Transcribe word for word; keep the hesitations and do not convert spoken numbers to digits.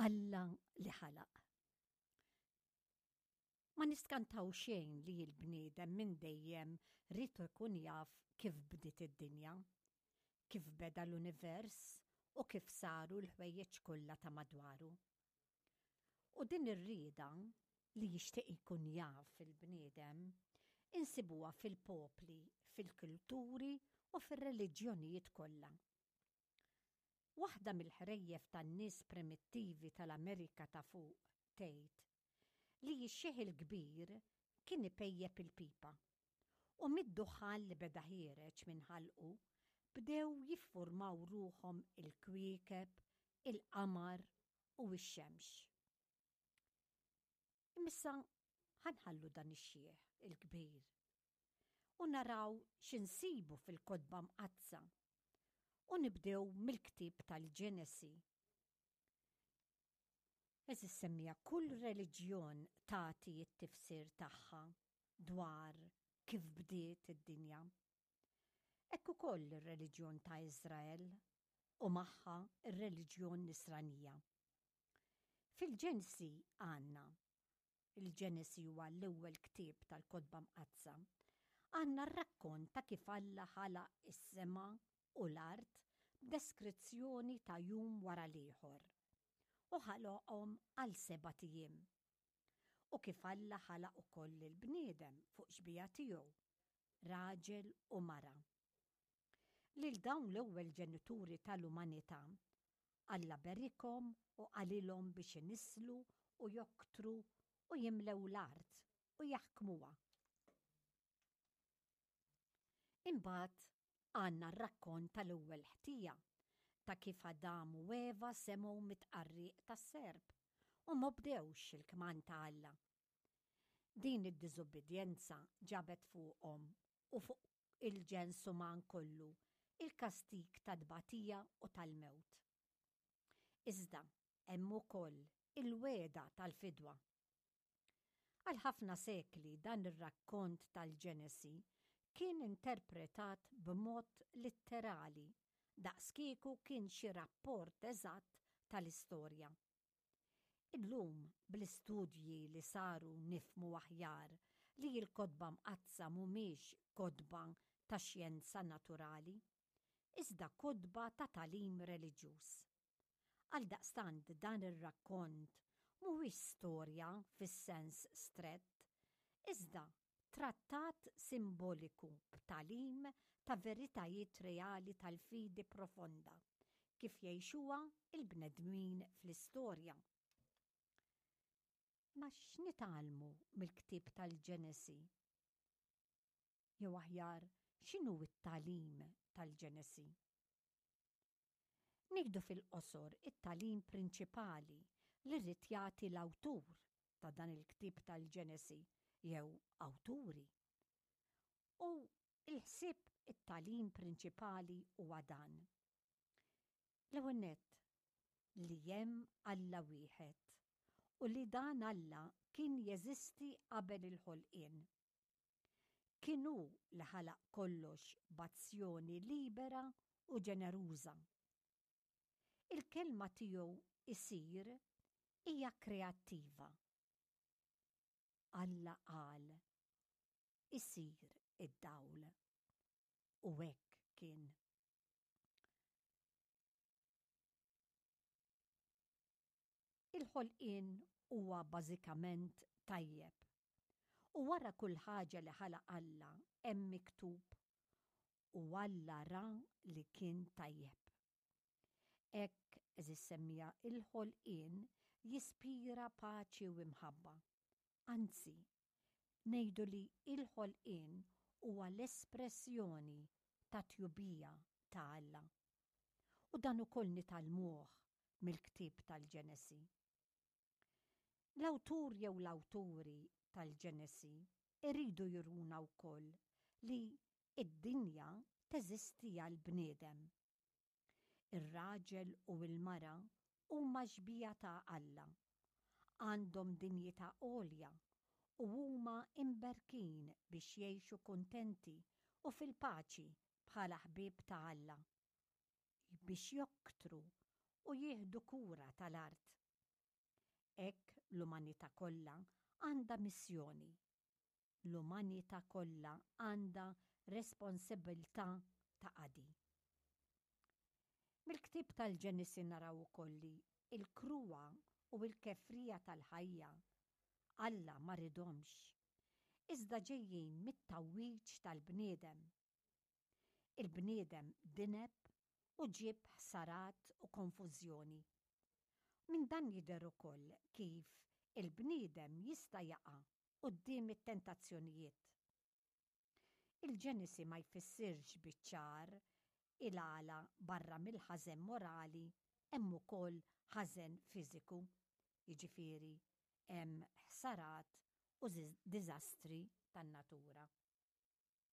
Alla li ħalaq. Ma niskantaw xejn li l-bniedem minn dejjem ried ikun jaf kif bdiet id-dinja, kif beda l-univers u kif saru l-ħwejjeġ kollha ta' madwaru. U din ir-rieda li jixtieq ikun jaf il-bniedem insibuha fil-popli, fil-kulturi u fir-reliġjonijiet kollha. Waħda mill-ħrejjef tan-nies primittivi tal-Amerika ta' fuq tgħid li x-xiħ il-kbir kien ipejjep il-pipa u mid-duħħan li beda ħiereġ minn ħalqu bdew jiffurmaw ruħhom il-kwiekeb, il-qamar u x-xemx. Imma ħa nħallu dan ix-xiħ il-kbir u naraw x'insibu fil-kotba mqaddsa u nibdew mill-ktieb tal-Ġenesi. Għeżież semmiegħa, kull reliġjon tagħti t-tifsir tagħha dwar kif bdiet id-dinja. Hekk ukoll ir-reliġjon ta' Iżrael u magħha ir-reliġjon Nisranija. Fil-Ġenesi għandna, il-Ġenesi huwa l-ewwel ktieb tal-kotba mqaddsa, għandna r-rakkont ta' kif Alla ħalaq is-sema u l-art b'deskrizzjoni ta' jum wara l-ieħor u ħalaqhom għal sebat ijiem. U kif Alla ħalaq ukoll il-bniedem fuq xbieha tiegħu, raġel u mara. Lil dawn l-ewwel ġenituri tal-umanità, Alla berikhom u qalilhom biex inisslu u joktru u jimlew l-art u jaħkmuha. Imbagħad għandna r-rakkont tal-ewwel ħtija ta' kif Adam u Eva semgħu mit-tqarriq tas-serp u m'obdewx il-kmand ta' Alla. Din id-diżubbidjenza ġabet fuqhom u fuq il-ġens uman kollu il-kastig ta' tbatija u tal-mewt. Iżda hemm ukoll il-wegħda tal-fidwa. Għal ħafna sekli dan ir-rakkont tal-Ġenesi kien interpretat b'mod litterali, daqskieku kien xi rapport eżatt tal-istorja. Illum bl-istudji li saru nifhmu aħjar li l-kotba mqaddsa mhumiex kotba ta' xjenza naturali, iżda kotba ta' tagħlim reliġjuż. Għaldaqstant dan ir-rakkont mhuwiex storja fis-sens strett, iżda trattat simboliku b'tagħlim ta' veritajiet reali tal-fidi profonda kif jgħixuha il-bnedmin fl-istorja. Ma x'nitgħallmu mill-ktieb tal-Ġenesi? Jew aħjar, x'inhu t-tagħlim tal-Ġenesi? Ngħidu fil-qosor it-tagħlim prinċipali li rrid jagħti l-awtur ta' dan il-ktieb tal-Ġenesi jew awturi. U il-ħsieb it-tagħlim prinċipali huwa dan. L-ewwel nett li hemm Alla wieħed u li dan Alla kien jeżisti qabel il-ħolqien. Kien hu li ħalaq kollox b'azzjoni libera u ġeneruża. Il-kelma tiegħu isir hija kreattiva. Alla qal, isir id-dawl. U hekk kien. Il-ħolqien huwa bażikament tajjeb. U wara kull ħaġa li ħalaq Alla hemm miktub u Alla ra li kien tajjeb. Hekk, għeżież semmiegħa, il-ħolqien jispira paċi u imħabba. Anzi, ngħidu li il-ħolqien huwa l-espressjoni ta' tjubija ta' Alla. U dan ukoll nitgħallmuh mill-ktieb tal-Ġenesi. L-awtur jew l-awturi tal-Ġenesi iridu juruna wkoll li id-dinja teżisti għall-bniedem. Ir-raġel u l-mara huma xbieha ta' Alla, għandhom dinjità għolja u huma imberkin biex jgħixu kuntenti u fil-paċi bħala ħbieb ta' Alla, biex joktru u jieħdu kura tal-art. Hekk l-umanità kollha għandha missjoni. L-umanità kollha għandha responsabbiltà ta' qadi. Mill-ktieb tal-Ġenesi naraw ukoll li l-kruha u l-kefrija tal-ħajja Alla ma ridhomx, iżda ġejjin mit-tgħawwiġ tal-bniedem. Il-bniedem dineb u ġieb ħsarat u konfużjoni. Minn dan jidher ukoll kif il-bniedem jista' jaqa' quddiem it-tentazzjonijiet. Il-Ġenesi ma jfissirx biċ-ċar il-għala barra mill-ħażen morali hemm ukoll ħażen fiżiku, jiġifieri hemm ħsarat u diżastri tan-natura.